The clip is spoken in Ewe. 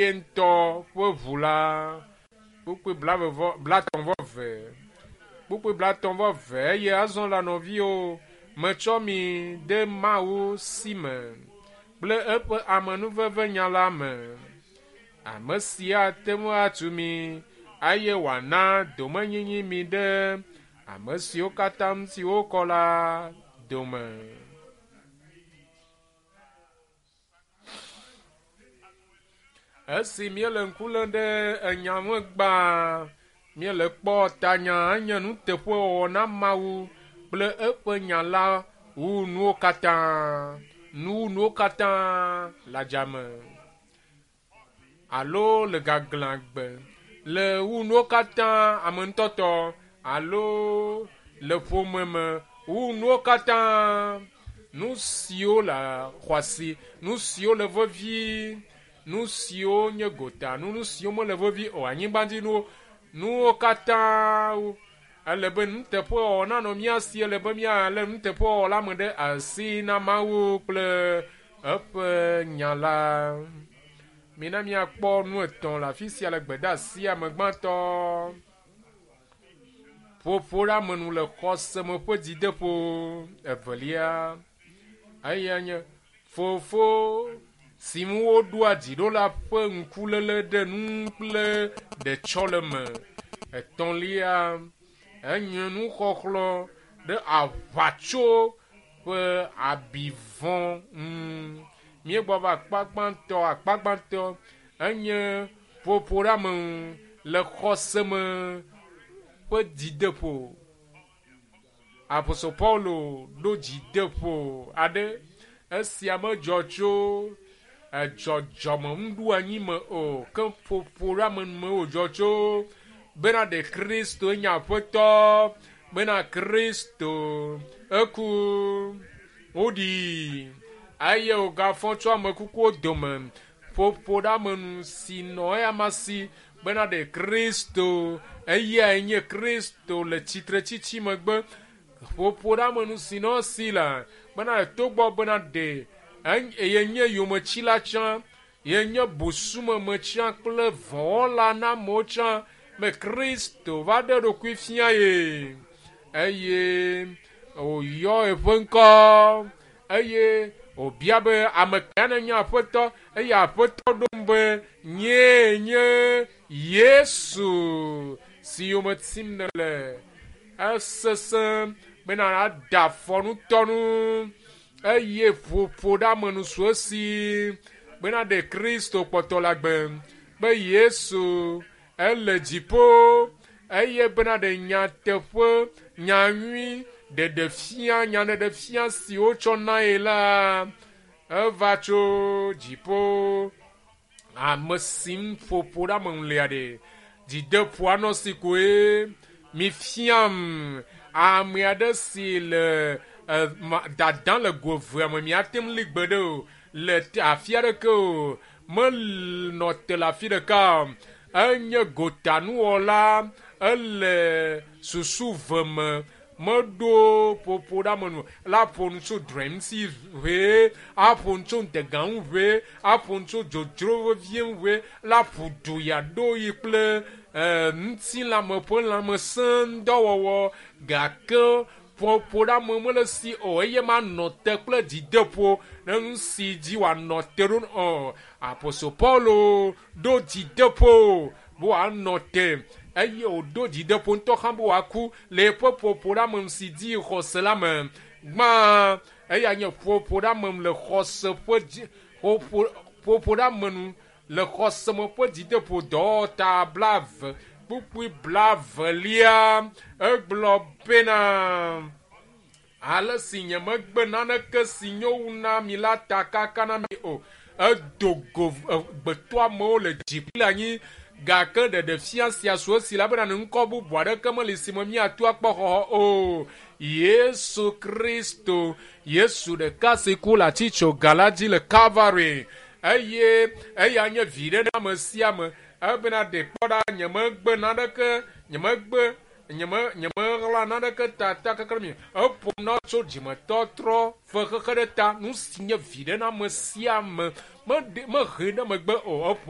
ye ŋutɔ ƒe ʋu la. Kpukpui 33. Kpukpui 33 eye azɔ la nɔviwo, metsɔ mi de Mawu si me kple eƒe amenuveve nya la me. Ame si ate ŋu atu mi eye wòana domenyinyi mi ɖe ame siwo katã ŋuti wokɔ la dome. Esi míele ŋku lém ɖe enya ŋu gbã, míele kpɔ tanya enye nuteƒewɔwɔ na Mawu kple eƒe nya la wu nuwo katã, nu wu nuwo katã le adzame alo le gaglãgbe, le wu nuwo katã ame ŋutɔtɔ alo le ƒome me wu nuwo katã. Nu siwo le xɔasi, nu siwo le vevi, nu siwo nye gota, nu siwo mele vevi o, anyigbadzinuwo, nuwo katã ele be nuteƒewɔwɔ nanɔ mía si, ele be míalé nuteƒewɔwɔ la me ɖe asi na Mawu kple eƒe nya la. Mina míakpɔ nu etɔ̃ le afi sia le gbedeasia me gbãtɔ. Ƒoƒo ɖe ame nu le xɔse me ƒe dzideƒo. Evelia, eya nye fofo si ŋu woɖoa dzi ɖo la ƒe ŋkuléle ɖe nu kple ɖetsɔleme. Etɔ̃lia, enye nuxɔxlɔ̃ ɖe aʋatso ƒe abi vɔ̃ ŋu. Míegbɔ va akpa gbãtɔ, akpa gbãtɔ enye ƒoƒo ɖe ame ŋu le xɔse me ƒe dzideƒo. Apostol Paulo ɖo dzideƒo aɖe. Esia medzɔ tso edzɔdzɔme nuɖoanyi me o, ke ƒoƒo ɖe ame nu me wòdzɔ tso bena ɖe Kristo nye Aƒetɔ, bena Kristo eku, woɖii eye wògafɔ tso ame kukuwo dome. Ƒoƒo ɖe ame nu si nɔ eyama si bena ɖe Kristo, eyae nye Kristo le tsitretsitsi megbe. Ƒoƒo ɖe ame nu si nɔ esi la bena ɖe togbɔ bena ɖe yenye yometsila tsã, yenye busumeme tsã kple vɔ̃wɔla na amewo tsã, be Kristo va ɖe eɖokui fia ye eye wòyɔ eƒe ŋkɔ eye wòbia be ame ka nenye Aƒetɔ eye Aƒetɔ ɖo ŋu be nyee nye Yesu si yome tim nèle. Esesẽ bena ada afɔ ŋutɔnu eye ƒoƒo ɖe ame nu su esi bena ɖe Kristo kpɔtɔ le agbe be Yesu ele dziƒo eye bena ɖe nyateƒe nyanyui ɖeɖefia nyaɖeɖefia si wotsɔ na ye la eva tso dziƒo. Ame si ŋu ƒoƒo ɖe ame ŋu lia ɖe dzideƒo anɔ si koe mifiam ame aɖe si le dada le go evea me miate ŋu li gbe ɖe o le afi aɖeke o menɔ te le afi ɖeka o. Enye gotanuwɔla, ele susu ve me meɖo ƒoƒo ɖe ame nu la ƒo nu tso drɔ̃e ŋuti ʋee, aƒo nu tso ŋdega ŋu ʋee, aƒo nu tso dzodzro vevie ŋu ʋee, la ƒo du yeaɖo yi kple ŋutilãme ƒe lãmesẽ ŋudɔwɔwɔ gake ƒoƒo ɖe ame mele si o eye manɔ te kple dzideƒo ɖe nu si dzi wòanɔ te ɖo o. Apostol Paulo ɖo dzideƒo be wòanɔ te eye wòɖo dzideƒo ŋutɔ hã be wòaku le eƒe ƒoƒo ɖe ame si dzi xɔse la me. Gbã eya nye ƒoƒo ɖe ame le xɔse ƒe dzi ƒoƒo ɖe ame nu le xɔse me ƒe dzideƒo dɔwɔta 20 kpukpui 22 egblɔ bena ale si nyemegbe naneke si nyo wu na mi la ta kaka na mi o. Edo go gbetɔamewo le dzi kple anyi gake ɖeɖefia sia su esi la bena ŋkɔ bubu aɖeke meli si me míato akpɔ xɔxɔ o. Yesu Kristo, Yesu ɖeka si ku le atitsoga la dzi le Calvary eye eya nye viɖe na ame sia ame ebena ɖe kpɔ ɖa nyemegbe naneke nyemegbe nyemeɣla naneke ta kaka mi. Eƒo na tso dzimetɔtrɔ fe xexe ɖe ta nu si nye viɖe na ame sia ame mehe ɖe megbe o. Eƒo